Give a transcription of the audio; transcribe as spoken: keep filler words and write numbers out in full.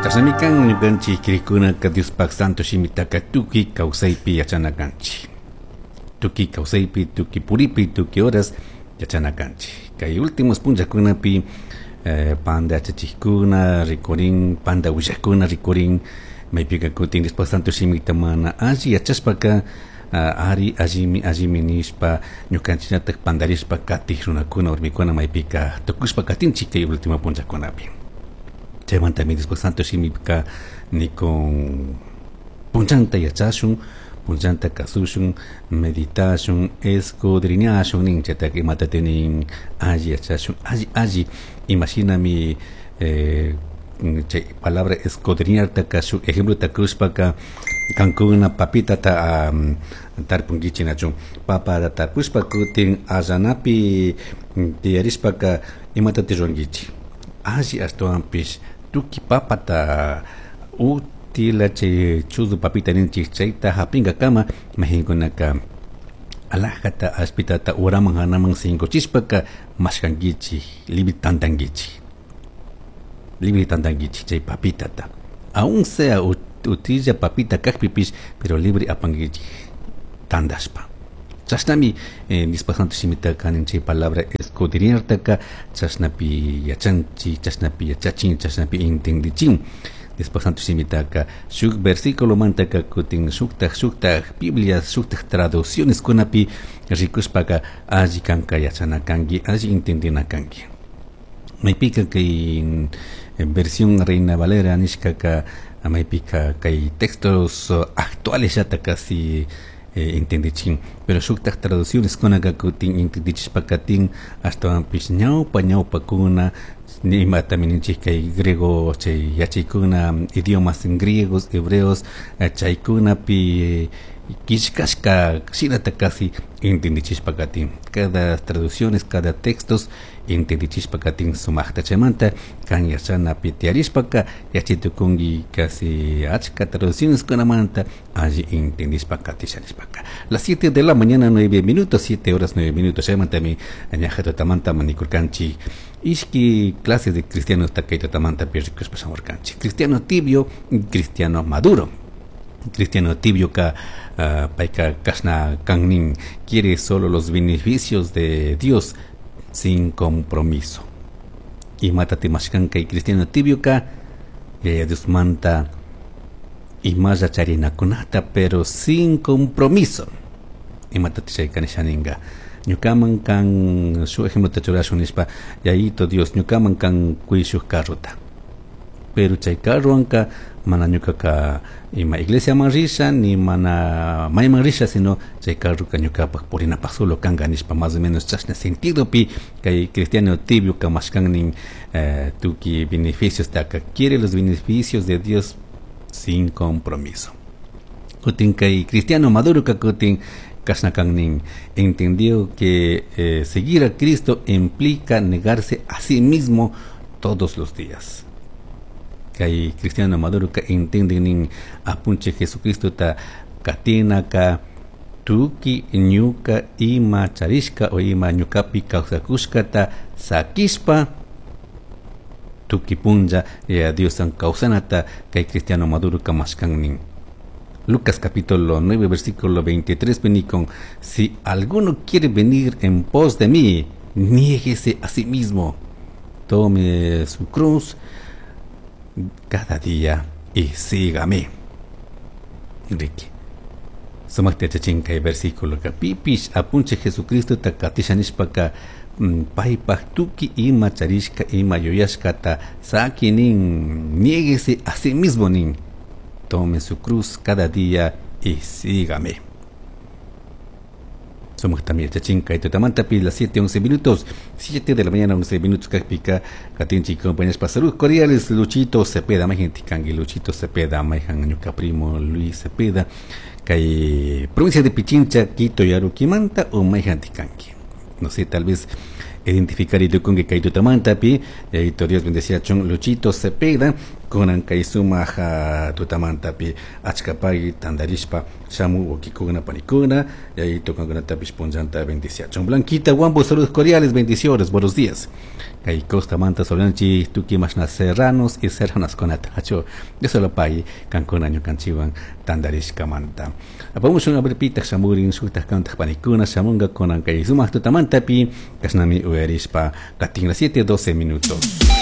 Chashnami kan ñukanchik crikkunaka Diospaj santo shimitaka tukuy kawsaypi yachana kanchik. Tukuy kawsaypi, tukuy puripi, tukuy horas yachana kanchik. Kay últimos punllakunapi eh, panda yachachikkuna rikurin, panda willakuna rikurin, maypika kutin Diospaj santo shimita mana alli yachashpaka uh, ari allimi allimi nishpa ñukanchikllatak pandarishpa katij runakuna warmikuna maypika tukushpa katinchik kay último punllakunapi. Chaymantami Diospaj santo shimika nikun punllanta yachashun, punllanta kasushun, meditashun, escudriñashun nin chaytaka imata nin alli yachashun, alli alli imashinami eh, chay palabra escudriñartaka shuk ejemplota kushpaka kankuna papitata um, tarpunkichik nachu papata tarpushpa kutin allanapi tiyarishpaka imatata rurankichik alli ashtawanpish tukuy papata utila chay chuzu papita ninchik chayta hapinkakama mayjinkunaka alajata ashpitata uraman hanaman sinkuchishpaka mashkankichik libre tantankichik libre tantankichik chay papitata aun sea utilla papita kakpipish pero libre apankichik tandashpa. Chashnami eh, Diospaj santo shimitaka nin chay palabra escudriñartaka chashnapi yachanchik, chashnapi yachachin, chashnapi entendichin. Diospaj santo shimitaka shuk versículo mantaka kutin shuktaj shuktaj Biblia shuktaj traducciones kunapi rikushpaka alli kanka yachana kanki, alli entendina kanki. Maypika kay versión Reina Valera nishkaka maypika kay textos actuales yata casi eh, entendichin, pero shuktaj traducciones kunaka kutin entendichishpaka tin ashtawanpish ñawpa ñawpakuna imatami ninchik kay griego chay yachaykuna idiomas griegos, hebreos chaykunapi killkashka shinata casi entendichishpa katin. Cada traducciones, cada textos entendichishpa katin sumaqta chaymanta kan yachanapi tiyarishpaka yachaytukunki casi achka traducciones kunamanta alli entendishpa katisha nishpaka. Las siete de la mañana nueve minutos, siete horas nueve minutos chaymantami ñaja tutamanta manikurkanchik ishki clases de cristianos kay tutamanta rikushpa shamurkanchik. Cristiano tibio, cristiano maduro. Cristiano tibio ka uh, payka kashna kannin quiere solo los beneficios de Dios sin compromiso. Imatati mashkanka cristiano tibio ka Yaya Dios manta imalla charinakunata pero sin compromiso. Imatati chayka nishaninga ñukaman kan shu ejemplo ta churashun nishpa Yayito Dios ñukaman kan quy shuk carrota, pero chay carrowanka mana ñukaka ima iglesia man risha ni mana mayman risha sino chay carroka ñukapaj purinapaj solo kanka nishpa más o menos chashna sentido pi kay cristiano tibio ka mashkannin eh, tukuy beneficios taka quiere los beneficios de Dios sin compromiso. Kutin kay cristiano maduro ka kutin kashna kannin entendió que eh, seguir a Cristo implica negarse a sí mismo todos los días. Kay cristiano maduro ka entienden nin apunche Jesucristo ta katina ka tuki ñuka ima charishka o ima ñukapi kawsakushkata sakishpa tuki punlla ya Dios kawsanata kay cristiano maduro ka mashkannin. Lucas capítulo nueve versículo veintitrés con si alguno quiere venir en pos de mí, niéguese a sí mismo, tome su cruz cada día y sígame. Ricky. Sumakta yachachin kay versículo ka pipish apunche Jesucristo ta katisha nishpaka paypaj tukuy ima charishka ima yuyashkata saki nin, niéguese a sí mismo nin, tome su cruz cada día y sígame. Somos también yachachin kay tutamantapi las siete once minutos, siete de la mañana once minutos kakpika katinchi compañeros pa saludos cordiales Luchito Cepeda, mayjan kanki Luchito Cepeda, mayjan ñuka primo Luis Cepeda, kay provincia de Pichincha, Quito y Aruquimanta o mayjan kanki. No sé, tal vez identificar y con que kay tutamantapi, Dios bendecía chon Luchito Cepeda, Kunan kay sumaq tutamantapi achkapay tandarishpa shamu wawkikuna panikuna yayito kankunatapish punllanta bendiciachun. Blanquita Guambo, saludos cordiales, bendiciones, buenos días. Kay Costa manta saludanchik tukuy mashna serranos y serranas kunata achu Dios pay kankuna ñukanchikwan tandarishkamanta. Apamushun a ver pitaq shamurin shuktak kantak panikuna shamunga kunan kay sumaq tutamantapi kashnami uyarishpa katin las siete doce minutos.